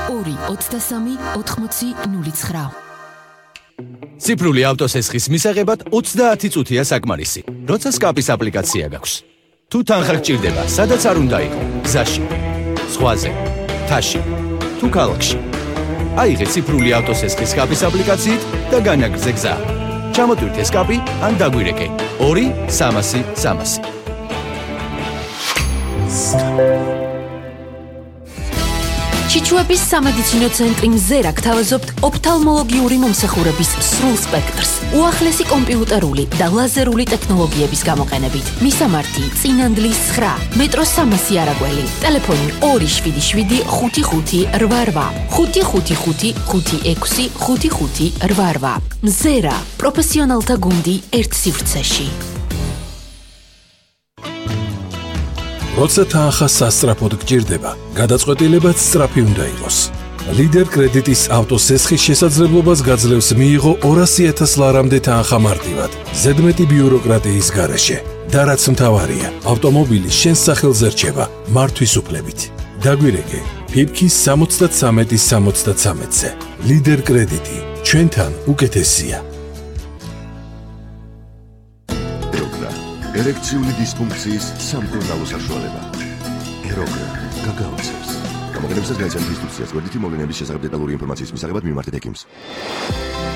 2-23-80-09. ციფრული ავტოსესხის მისაღებად 30 წუთია საკმარისი, როცა სკაპის აპლიკაცია გაქვს. თუ თანხა გჭირდება, სადაც არ უნდა იყო, გზაში, ზღვაზე, მთაში, თუ ქალაქში. აიღე ციფრული ავტოსესხის სკაპის აპლიკაციით და განაგრძე გზა. ჩამოტვირთე სკაპი ან დაგვირეკე 2-300-300. ჩიჩუების სამედიცინო ცენტრი მზერა გთავაზობთ ოფთალმოლოგიური მომსახურების სრულ სპექტრს, უახლესი კომპიუტერული და ლაზერული ტექნოლოგიების გამოყენებით. მისამართი: წინანდლის 9, მეტროს 300 არაგველი, ტელეფონი 277-55-88, 555-56-55-88. მზერა, პროფესიონალთა გუნდი ერთ სივრცეში. როცა თანხა სასწრაფოდ გჭირდება, გადაწყვეტილებაც სწრაფი უნდა იყოს. ლიდერ კრედიტის ავტოსესხის შესაძლებლობას გაძლევს მიიღო 200,000 ლარამდე თანხა მარტივად, ზედმეტი ბიუროკრატიის გარეშე. და რაც მთავარია, ავტომობილი შენ სახელზე რჩება მართვის უფლებით. დაგვირეკე ფიფქის 73-73-ზე. ლიდერ კრედიტი, ჩვენთან უკეთესია. ერექციული დისფუნქციის სამკურნალო საშუალება. ეროგრა გაგაოცებს. გამოყენებისას გაიცანით ინსტრუქციას, გვერდითი მოვლენების შესახებ დეტალური ინფორმაციის მისაღებად მიმართეთ ექიმს.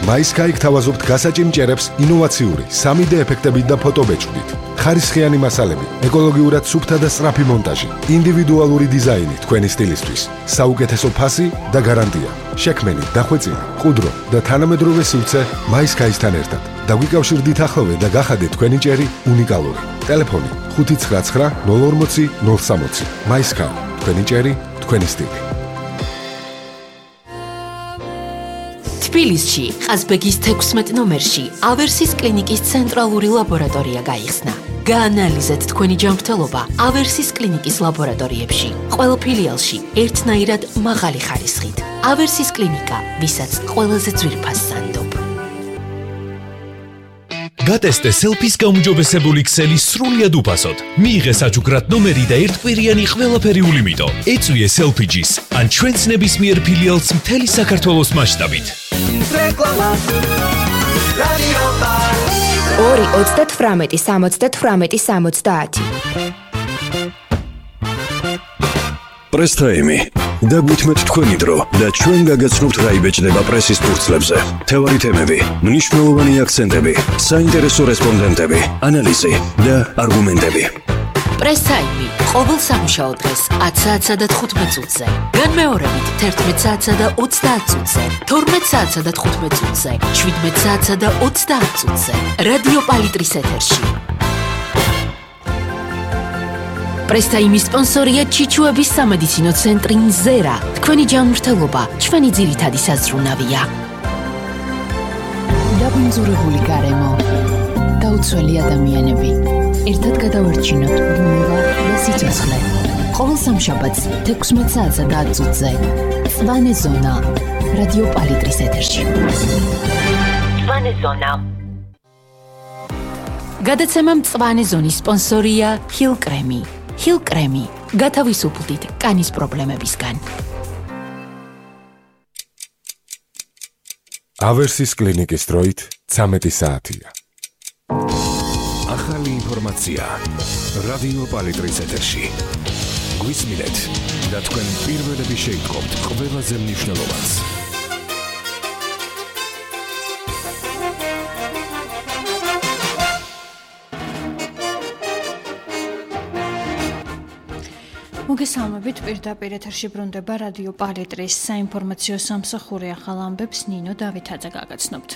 MySky გთავაზობთ გასაჭიმ ჭერებს ინოვაციური 3D ეფექტებით და ფოტობეჭდით. ხარისხიანი მასალები, ეკოლოგიურად სუფთა და სწრაფი მონტაჟი, ინდივიდუალური დიზაინი თქვენი სტილისთვის, საუკეთესო ფასი და გარანტია. შექმენი, დახვეწილი, ყუდრო და თანამედროვე სივრცე MySky-სთან ერთად. დაგვიკავშირდით ახლოვე და გახადეთ თქვენი ჭერი უნიკალური. ტელეფონი 599-040-060. MySky, თქვენი ჭერი, თქვენი სტილი. თბილისში, ყაზბეგის 16 ნომერში, ავერსის კლინიკის ცენტრალური ლაბორატორია გაიხსნა. გაანალიზეთ თქვენი ჯანმრთელობა ავერსის კლინიკის ლაბორატორიებში. ყველა ფილიალში ერთნაირად მაღალი ხარისხით. ავერსის კლინიკა, ვისაც ყველაზე ძვირფას სანდობ. გატესტე სელფის გაუმჯობესებული ქსელი სრულიად უფასოდ. მიიღე საჩუქრად ნომერი და ერთკვირიანი ყველაფერიული მიტო. ეწვიე სელფიჯის ან ჩვენს ნებისმიერ ფილიალს მთელი საქართველოს მასშტაბით. 2-38-70-70. პრესთაიმი. დაგვითმეთ თქვენი დრო და ჩვენ გაგაცნობთ რა იბეჭდება პრესის ფურცლებზე. თევარი თემები, მნიშვნელოვანი აქცენტები, საინტერესო რესპონდენტები, ანალიზი და არგუმენტები. პრესთაიმი ყოველ სამუშაო დღეს 10 საათსა და 15 წუთზე. განმეორებით 11 საათსა და 30 წუთზე, 12 საათსა და 15 წუთზე, 17 საათსა და 30 წუთზე. რადიო პალიტრის ეთერში. პრესთაიმის სპონსორია ჩიჩუების სამედიცინო ცენტრი მზერა. თქვენი ჯანმრთელობა, ჩვენი ძირითადი საზრუნავია. დაბინძურებული გარემო, დაუცველი ადამიანები. ერთად გადავარჩინოთ ბუნება და სიცოცხლე. ყოველ სამშაბათს 16 საათსა და 10 წუთზე. მწვანე ზონა, რადიო პალიტრის ეთერში. მწვანე ზონა. გადაცემა მწვანე ზონის სპონსორია ჰილ კრემი. ჰილ კრემი, გათავისუფლდით კანის პრობლემებისგან. ავერსის კლინიკის დროით 13 საათია. ახალი ინფორმაცია რადიო პალიტრის ეთერში. გვისმინეთ და თქვენ პირველები შეიტყობთ ყველაზე მნიშვნელოვანს. მოგესალმებით, პირდაპირ ეთერში ბრუნდება რადიო პალიტრის საინფორმაციო სამსახური ახალ ამბებს ნინო დავითაძე გაგაცნობთ.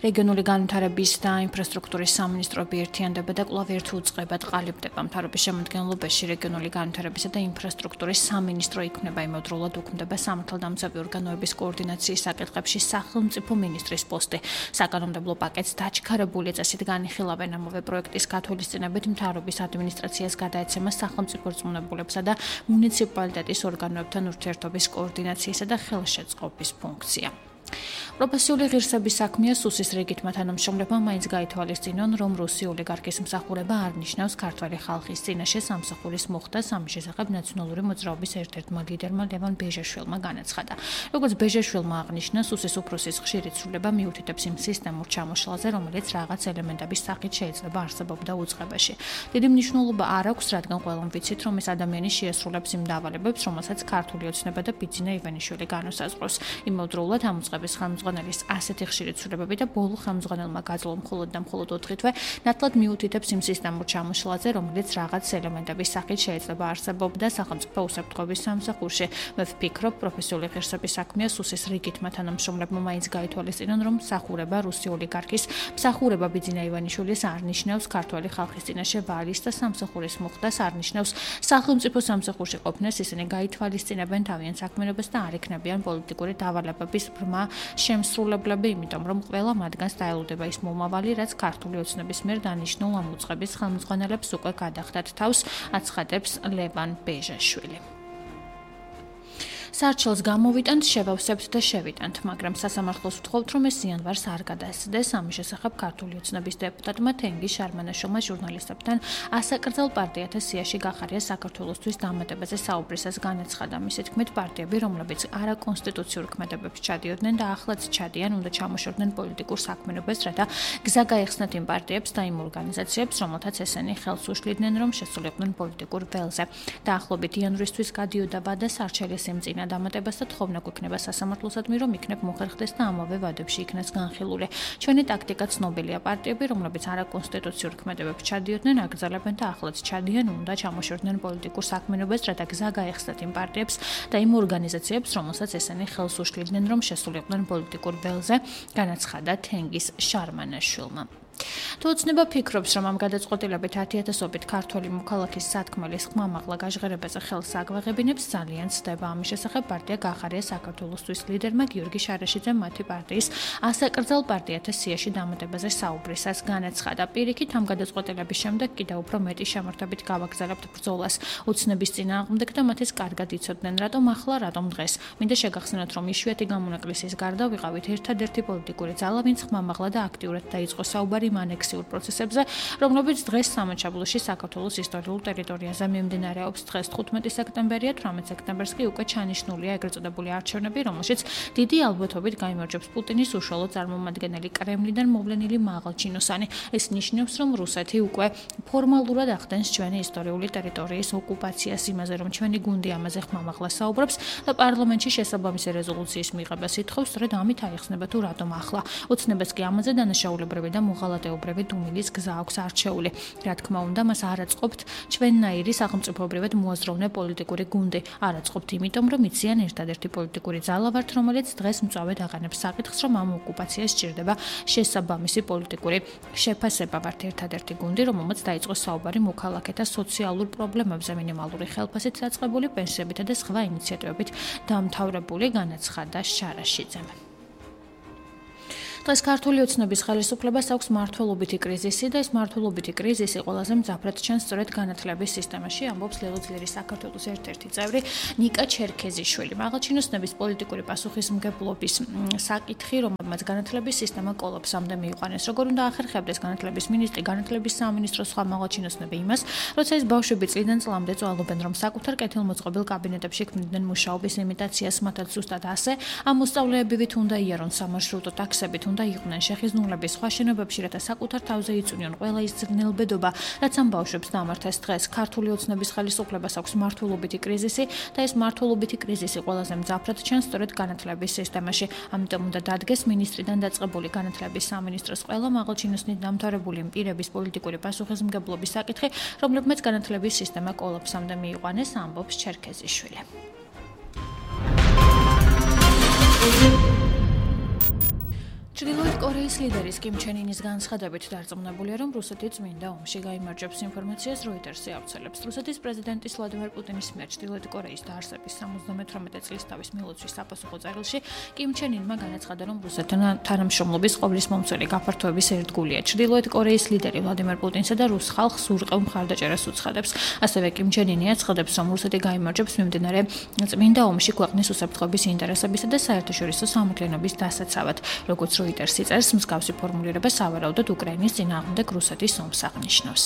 რეგიონული განვითარების და ინფრასტრუქტურის სამინისტროები ერთიანდება და კვლავ ერთ უწყებად ყალიბდება. მთავრობის შემადგენლობაში რეგიონული განვითარებისა და ინფრასტრუქტურის სამინისტრო იქმნება, იმავდროულად უქმდება სამართალდამცავი ორგანოების კოორდინაციის საკითხებში სახელმწიფო მინისტრის პოსტი. საკანონმდებლო პაკეტს დაჩქარებული წესით განიხილავენ. ამავე პროექტის გათვალისწინებით მთავრობის ადმინისტრაციას გადაეცემა სახელმწიფო რწმუნებულებსა და მუნიციპალიტეტის ორგანოებთან ურთიერთობის კოორდინაციისა და ხელშეწყობის ფუნქცია. პროფესიული ღირსების საქმეა სუსის რიგითმა თანამშრომლებმა მაინც გაითვალისწინონ, რომ რუსი ოლიგარქის მსახურება არ ნიშნავს ქართველი ხალხის წინაშე სამსახურის მოხდას. ამის შესახებ ნაციონალური მოძრაობის ერთ-ერთმა ლიდერმა ლევან ბეჟაშვილმა განაცხადა. როგორც ბეჟაშვილმა აღნიშნა, სუსის უფროსის ხშირი ცვლილება მიუთითებს იმ სისტემურ ჩამოშლაზე, რომელიც რაღაც ელემენტების სახით შეიძლება არსებობდა უწყებაში. დიდი მნიშვნელობა არ აქვს, რადგან ყველამ ვიცით, რომ ეს ადამიანი შეასრულებს იმ დავალებებს, რომელსაც ქართული ოცნება და ბიძინა ივანიშვილი განუსაზღვრავს. იმავდროულად ამ უწყების ხელმძღვანელის ასეთი ხშირი ცვლილებები და ბოლო ხელმძღვანელმა გაძლო მხოლოდ და მხოლოდ 4 თვე ნათლად მიუთითებს იმ სისტემურ ჩამოშლაზე, რომელიც რაღაც ელემენტების სახით შეიძლება არსებობდა სახელმწიფო უსაფრთხოების სამსახურში. მე ვფიქრობ, პროფესიული ღირსების საქმეა სუსის რიგითმა თანამშრომლებმა მაინც გაითვალისწინონ, რომ მსახურება რუსი ოლიგარქის მსახურება ბიძინა ივანიშვილის არ ნიშნავს ქართველი ხალხის წინაშე ვალის და სამსახურის მოხდას, არ ნიშნავს სახელმწიფო სამსახურში ყოფნას. ისინი გაითვალისწინებენ თავიანთ საქმიანობას და არ იქნებიან პოლიტიკური დავალებების ბრმა შემსრულებლები, იმიტომ რომ ყველა მათგანს დაელოდება ის მომავალი, რაც ქართული ოცნების მიერ დანიშნულ ამ უწყების ხელმძღვანელებს უკვე გადახდათ თავს, აცხადებს ლევან ბეჟაშვილი. სარჩელს გამოვიტანთ, შევავსებთ და შევიტანთ, მაგრამ სასამართლოს ვთხოვთ, რომ ეს იანვარს არ გადაასცდეს. ამის შესახებ ქართული ოცნების დეპუტატმა თენგიზ შარმანაშვილმა ჟურნალისტებთან ასაკრძალ პარტიათა სიაში გახარია საქართველოსთვის დამატებაზე საუბრისას განაცხადა. მისი თქმით, პარტიები, რომლებიც არაკონსტიტუციურ ქმედებებს ჩადიოდნენ და ახლაც ჩადიან, უნდა ჩამოშორდნენ პოლიტიკურ საქმიანობას, რათა გზა გაეხსნათ იმ პარტიებს და იმ ორგანიზაციებს, რომელთაც ესენი ხელს უშლიდნენ, რომ შესულიყვნენ პოლიტიკურ ველზე. დაახლოებით იანვრისთვის გადიოდა ვადა სარჩელის იმწინა დამატებას და თხოვნა გვექნება სასამართლოსადმი, რომ იქნებ მოხერხდეს და ამავე ვადებში იქნას განხილული. ჩვენი ტაქტიკა ცნობილია, პარტიები, რომლებიც არაკონსტიტუციურ ქმედებებს ჩადიოდნენ, აკრძალებენ და ახლაც ჩადიან, უნდა ჩამოშორდნენ პოლიტიკურ საქმიანობას, რათა გზა გაეხსნათ იმ პარტიებს და იმ ორგანიზაციებს, რომელსაც ესენი ხელს უშლიდნენ, რომ შესულიყვნენ პოლიტიკურ ველზე, განაცხადა თენგიზ შარმანაშვილმა. თუ ოცნება ფიქრობს, რომ ამ გადაწყვეტილებით 10,000-ობით ქართველი მოქალაქის სათქმელის ხმამაღლა გაჟღერებაზე ხელს აგვაღებინებს, ძალიან ცდება. ამის შესახებ პარტია გახარია საქართველოსთვის ლიდერმა გიორგი შარაშიძემ მათი პარტიის ასაკრძალ პარტიათა სიაში დამატებაზე საუბრისას განაცხადა. პირიქით, ამ გადაწყვეტილების შემდეგ კიდევ უფრო მეტი შემართებით გავაგზავნებთ ბრძოლას ოცნების წინააღმდეგ და მათეს კარგად იცოდნენ, რატომ ახლა, რატომ დღეს. მინდა შეგახსენოთ, რომ იშვიათი გამონაკლისის გარდა ვიყავით ერთადერთი პოლიტიკური ძალა, ვინც ხმამაღლა და აქტიურად დაიწყო საუბარი ანექსიურ პროცესებზე, რომლებიც დღეს სამაჩაბლოში საქართველოს ისტორიულ ტერიტორიაზე მიმდინარეობს. დღეს 15 სექტემბერია, 18 სექტემბერს კი უკვე ჩანიშნულია ეგრეთ წოდებული არჩევნები, რომელშიც დიდი ალბათობით გაიმარჯვებს პუტინის უშუალო წარმომადგენელი კრემლიდან მოვლენილი მაღალჩინოსანი. ეს ნიშნავს, რომ რუსეთი უკვე ფორმალურად ახდენს ჩვენი ისტორიული ტერიტორიის ოკუპაციას, იმაზე, რომ ჩვენი გუნდი ამაზე ხმამაღლა საუბრობს და პარლამენტში შესაბამისი რეზოლუციის მიღებას ითხოვს, სწორედ ამით აიხსნება თუ რატომ ახლა. ოცნებას კი ამაზე დანაშაულებრივი და მოღალატეობრივი დუმილის გზა აქვს არჩეული. რა თქმა უნდა, მას არ აწყობთ ჩვენნაირი სახელმწიფოებრივად მოაზროვნე პოლიტიკური გუნდი. არ აწყობთ იმიტომ, რომ იციან ერთადერთი პოლიტიკური ძალა ვართ, რომელიც დღეს მწვავედ აღანებს საკითხს, რომ ამ ოკუპაციას სჭირდება შესაბამისი პოლიტიკური შეფასება. ვართ ერთადერთი გუნდი, რომელმაც დაიწყო საუბარი მოქალაქეთა სოციალურ პრობლემებზე, მინიმალური ხელფასით დაწყებული პენსიებითა და სხვა ინიციატივებით დამთავრებული, განაცხადა შარაშიძემ. დღეს ქართული ოცნების ხელისუფლებას აქვს მმართველობითი კრიზისი და ეს მმართველობითი კრიზისი ყველაზე მძაფრად ჩანს სწორედ განათლების სისტემაში, ამბობს ლელოძლიერი საქართველოს ერთ-ერთი წევრი ნიკა ჩერქეზიშვილი. მაღალჩინოსნების პოლიტიკური პასუხისმგებლობის საკითხი, რომელმაც განათლების სისტემა კოლაფსამდე მიიყვანეს. როგორ უნდა ახერხებდეს განათლების მინისტრი, განათლების სამინისტრო, სხვა მაღალჩინოსნები იმას, როცა ეს ბავშვები წლიდან წლამდე წვალობენ, რომ საკუთარ კეთილმოწყობილ კაბინეტებში ქმნიდნენ მუშაობის იმიტაციას, მათაც ზუსტად ასე, ამ მოსწავლეებივით უნდა იარონ სამარშრუტო ტაქსებით, და იყვნენ შეხიზნულების სხვა შენობებში, რათა საკუთარ თავზე იწვნიონ ყველა ის ძნელბედობა, რაც ამ ბავშვებს დამართეს დღეს. ქართული ოცნების ხელისუფლებას აქვს მმართველობითი კრიზისი და ეს მმართველობითი კრიზისი ყველაზე მძაფრად ჩანს სწორედ განათლების სისტემაში. ამიტომ უნდა დადგეს მინისტრიდან დაწყებული განათლების სამინისტროს ყველა მაღალჩინოსნით დამთავრებული პირების პოლიტიკური პასუხისმგებლობის საკითხი, რომლებმაც განათლების სისტემა კოლაფსამდე მიიყვანეს, ამბობს ჩერქეზიშვილი. ჩრდილოეთ კორეის კორეის ლიდერის კიმ ჩენ ინის განცხადებით დარწმუნებულია, რომ რუსეთი წმინდა ომში გაიმარჯვებს ინფორმაციას როიტერსი ავრცელებს. რუსეთის პრეზიდენტის ვლადიმერ პუტინის მიერ ჩრდილოეთ კორეის დაარსების 78 წლის თავის მილოცვის საპასუხო წერილში კიმ ჩენ ინმა განაცხადა, რომ რუსეთთან თანამშრომლობის ყოვლის მომცველი გაფართოების ერთგულია. ჩრდილოეთ კორეის ლიდერი ვლადიმერ პუტინსა და რუს ხალხს ურყევ მხარდაჭერას უცხადებს. ასევე კიმ ჩენ ინი აცხადებს, რომ რუსეთი გაიმარჯვებს მიმდინარე წმინდა ომში ქვეყნის უსაფრთხოების ინტერესებისა და საერთაშორისო სამართლიანობის დასაცავად. როგორც როიტერსი წერს, მსგავსი ფორმულირება სავარაუდოდ უკრაინის წინააღმდეგ რუსეთის ომს აღნიშნავს.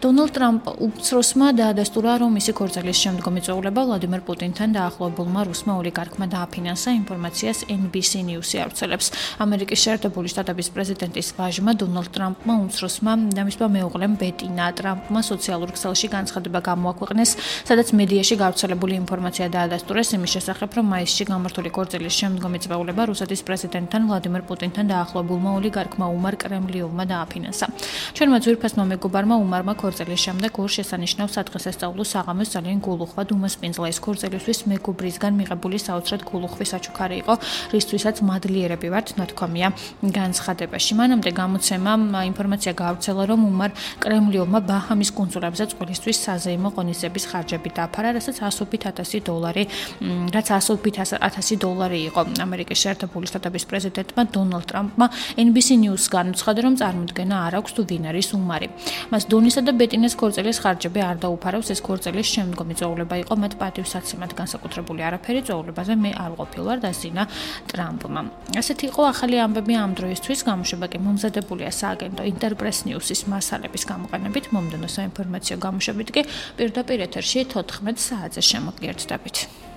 დონალდ ტრამპ უმცროსმა დაადასტურა, რომ მისი ქორწილის შემდგომი წვეულება ვლადიმერ პუტინთან დაახლოებულმა რუსმა ოლიგარქმა დააფინანსა ინფორმაციას NBC News-ი ავრცელებს. ამერიკის შეერთებული შტატების პრეზიდენტის ვაჟმა დონალდ ტრამპმა უმცროსმა და მისმა მეუღლემ ბეტინა ტრამპმა სოციალურ ქსელში განცხადება გამოაქვეყნეს, სადაც მედიაში გავრცელებული ინფორმაცია დაადასტურეს იმის შესახებ, რომ მაისში გამართული ქორწილის შემდგომი წვეულება რუსეთის პრეზიდენტთან ვლადიმერ პუტინთან დაახლოებულმა ოლიგარქმა უმარ კრემლიოვმა დააფინანსა. ჩვენმა ძვირფასმა მეგობარმა უმარმა ქორწილის შემდეგ ორ შესანიშნავ სადღესასწაულო საღამოს ძალიან გულუხვა უმასპინძლა. ეს ქორწილისთვის მეგობრისგან მიღებული საოცრად გულუხვის საჩუქარი იყო, რისთვისაც მადლიერები ვართ, ნათქვამია განცხადებაში. მანამდე გამოცემამ ინფორმაცია გაავრცელა, რომ უმარ კრემლიოვმა ბაჰამის კუნძულებზე წყვილისთვის საზეიმო ღონისძიების ხარჯები დააფარა, რაც $100,000 იყო. ამერიკის შეერთებული შტატების პრეზიდენტმა დონალდ ტრამპმა NBC News-გან უცხადა, რომ წარმოდგენა არ აქვს თუ ვინ არის უმარი. მას დონისა და ბეტინას ქორწილის ხარჯები არ დაუფარავს. ეს ქორწილის შემდგომი წვეულება იყო მათ პატივსაცემად განსაკუთრებული არაფერი წვეულებაზე მე არ ყოფილვარ დასინა ტრამპმა. ასეთი იყო ახალი ამბები ამ დროისთვის. გამოშვება კი მომზადებულია სააგენტო ინტერპრეს ნიუსის მასალების გამოყენებით. მომდევნო საინფორმაციო გამოშვებით კი პირდაპირ ეთერში 14 საათზე შემოგიერთდებით.